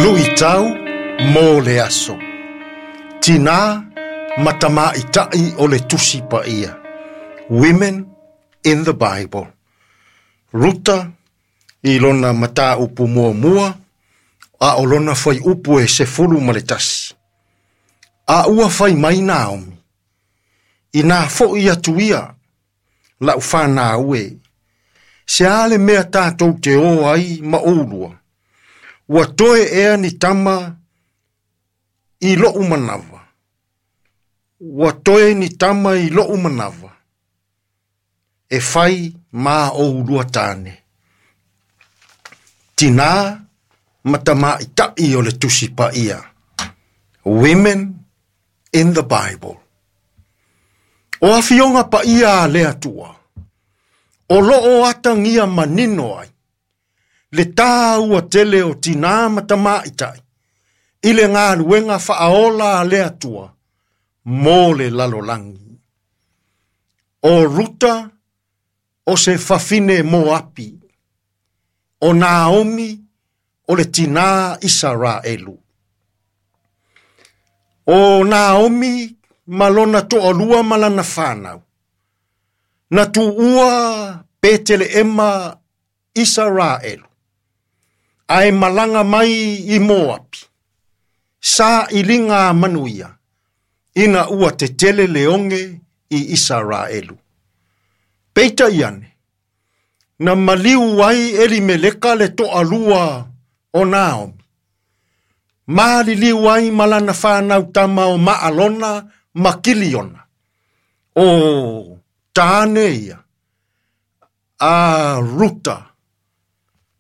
Luitau mo le aso. Tinā ma Tamaitai o le Tusi Paia. Women in the Bible. Ruta i lona mataupu muamua a o lona fuaiupu e 11. A ua fai mai Naomi, inā foʻi atu ia, la'u fanau e, se a le mea tatou te o ai ma oulua, ua toe ea ni tama i lo'u manava, ua toe ni tama i lo'u manava, e fai ma oulua tāne. Tinā ma Tamaitai o le Tusi Paia. Women in the Bible. O afioga paia a le Atua, o loo atagia manino ai, le tāua tele o tinā ma tamaitai, i le galuega faaola a le Atua, mo le lalolagi. O Ruta o se fafine Moapi, o Naomi o le tinā Isaraelu. O Naomi ma lona toalua ma lana fanau, na tuua Peteleema Isaraelu, ae malaga mai i Moapi, sailiga manuia, ina ua tetele le oge i Isaraelu. Peitai ane, na maliu ai Elimeleka le toalua o Naomi, maliliu ai ma lana fanau tama o Maalona ma Kiliona, o tāne ia, a Ruta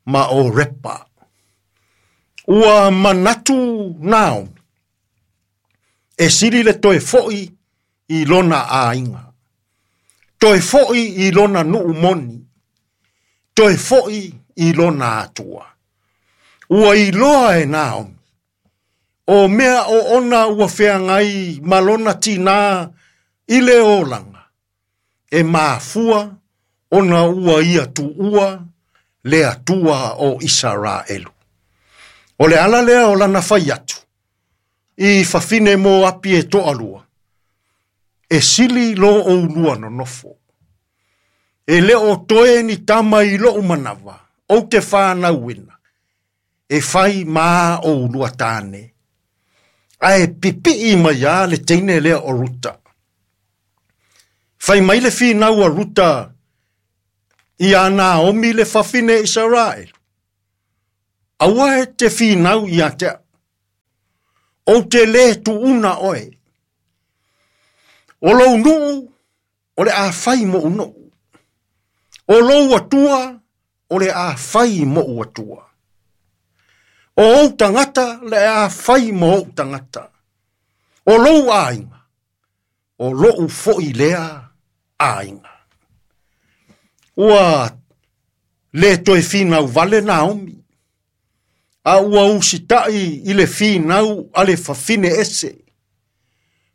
ma o Repa. Ua manatu Naomi, e sili le toe foʻi i lona aiga, toe foʻi i lona nuu moni, toe foʻi i lona atua. Ua iloa e Naomi, o mea o ona ua feagai ma lona tinā i le olaga, e mafua ona ua ia tuua le Atua o Isaraelu. O le ala lea o lana fai atu, i fafine Moapi e toalua, e sili lo oulua nonofo. E le o toe ni tama i lou manava, ou te whanauina, e fai ma oulua tāne. Ae pipii mai a le teine lea o Ruta. Fai mai le finau a Ruta ia Naomi le fafine Israel. Aua e te finau ia te au. O te le tuuna oe. O lou nuu, o le a fai moʻu nuu. O lou Atua, o le a fai moʻu Atua. O ou tagata, le a fai ma ou tagata. O lou aiga, o lou foʻi lea aiga. Ua le toe finau vale Naomi, a ua usitai i le finau a le fafine ese,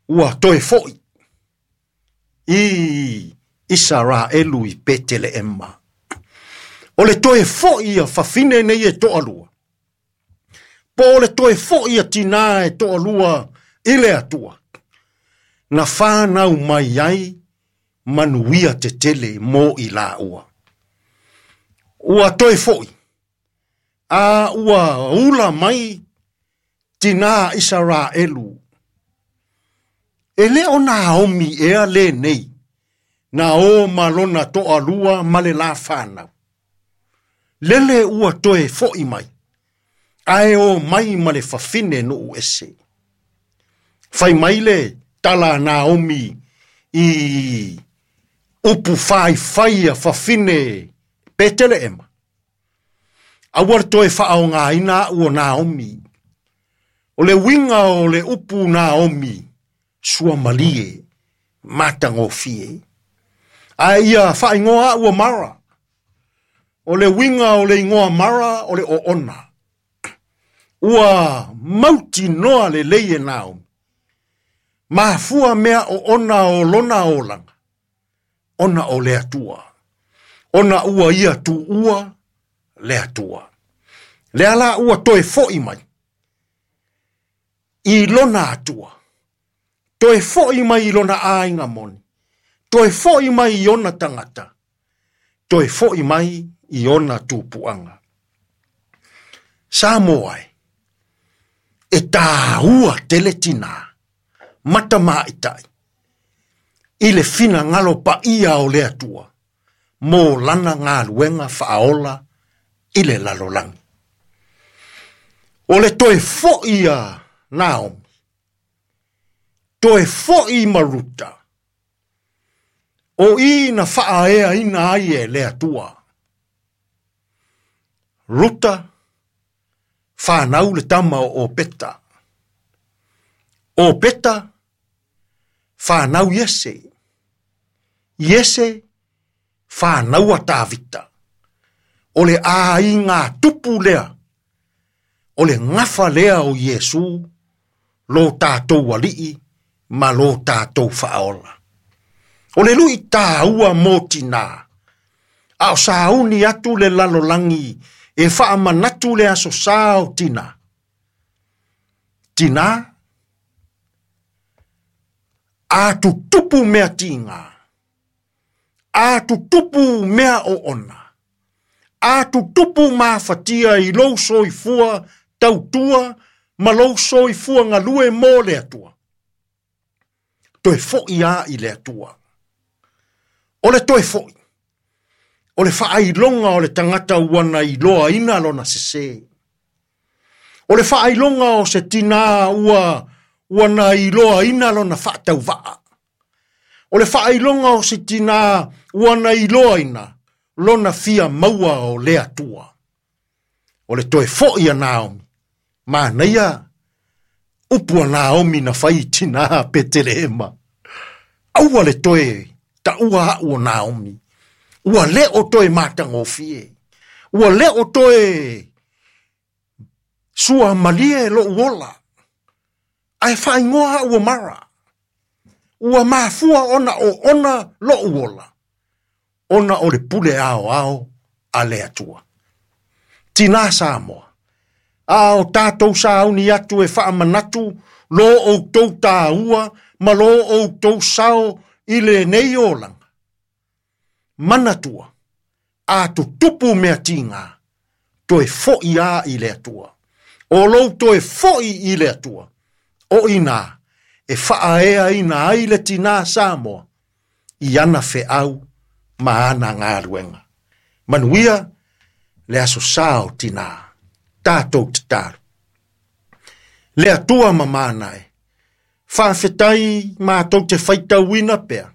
ua toe foʻi i Isaraelu i Peteleema. O le toe foʻi a fafine nei e toalua, po o le toe foʻi a tinā e toalua i le Atua, na whānau mai ai manuia tetele mo i laua. Ua toe foʻi, a ua ula mai tinā Isaraelu. E le o Naomi ea le nei, na o ma lona toalua ma le la whanau. Lele ua toe foʻi mai, ae o mai ma le fafine nuu ese. Fai mai le tala Naomi i upu faifai a fafine Peteleema. Aua le toe faaaogāina aʻu o Naomi. O le uiga o le upu Naomi, suamalie, matagofie. Ae ia faaigoa aʻu o Mara. O le uiga o le igoa Mara o le oona. Ua mautinoa lelei e Naomi. Mafua mea oona o lona olaga, ona o le Atua. Ona ua ia tuua le Atua. Lea la ua toe foʻi mai. i lona Atua, toe fo'i mai i lona aiga moni, toe fo'i mai i ona tagata, toe fo'i mai i ona tupuaga. Samoa e, e tāua tele tinā, matamaitai, i le finagalo paia o le Atua, mo lana galuega faaola i le lalolagi. O le toe fo'i a Naomi, toe fo'i ma Ruta, o i na faaeaina ai e le Atua. Ruta, whanau le tama o Opeta. Opeta, whanau Iese. Iese, whanau a Tavita. O le aiga tupu lea, o le gafa lea o Iesu, lo tātou alii ma lo tātou faaola. O le lui tāua mō tinā, a o sauni atu le lalolagi e faamanatu le aso sa o tinā. Tinā, a tutupu mea tiga, a tutupu mea oona, a tutupu mafatia i lou soifua tautua ma lou soifua galue mo le Atua. Toe fo'i a i le Atua. O le toe fo'i, o le faailoga o le tagata ua na iloaina lona sesē. O le faailoga o se tinā ua na iloaina lona faatauvaa. O le faailoga o se tinā ua na iloaina lona fia maua o le Atua. O le toe fo'i a Naomi, manaia upu a Naomi na fai i tinā Petelehema. Aua le toe taua a'u o Naomi. Ua le o toe matagofie. Ua le o toe sua malie lo'u ola. Ae faaigoa a'u o Mara. Ua mafua ona oona lo'u ola, ona o le pule aoao a le Atua. Tinā Samoa, a o tātou sauni atu e faamanatu lo outou tāua ma lo outou sao i lenei olaga. Manatua, a tutupu mea tiga, toe fo'i a i le Atua. O lou toe fo'i i le Atua, o inā e faaeaina ai le tinā Samoa i ana feau ma ana galuega. Manuia le aso sa o tinā, tātou tatalo. Le Atua mamana e, faafetai matou te faitauina pea,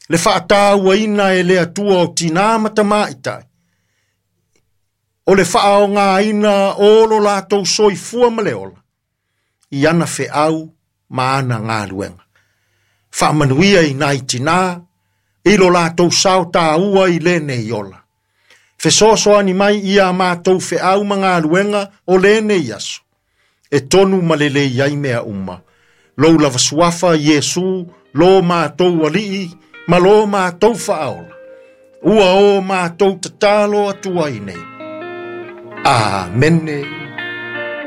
le faatauaina e le Atua o tinā ma tamaitai, o le faaogaina o lo latou soifua ma le ola, i ana feau ma ana galuega. Faamanuia i nai tinā, i lo latou sao tāua i lenei ola. Fesoasoani mai ia matou feau ma galuega o lenei aso, e tonu ma lelei ai mea uma. Lou lava suafa Iesu, lo matou alii, ma lo matou faaola. Ua o matou tatalo atu ai nei. Amene.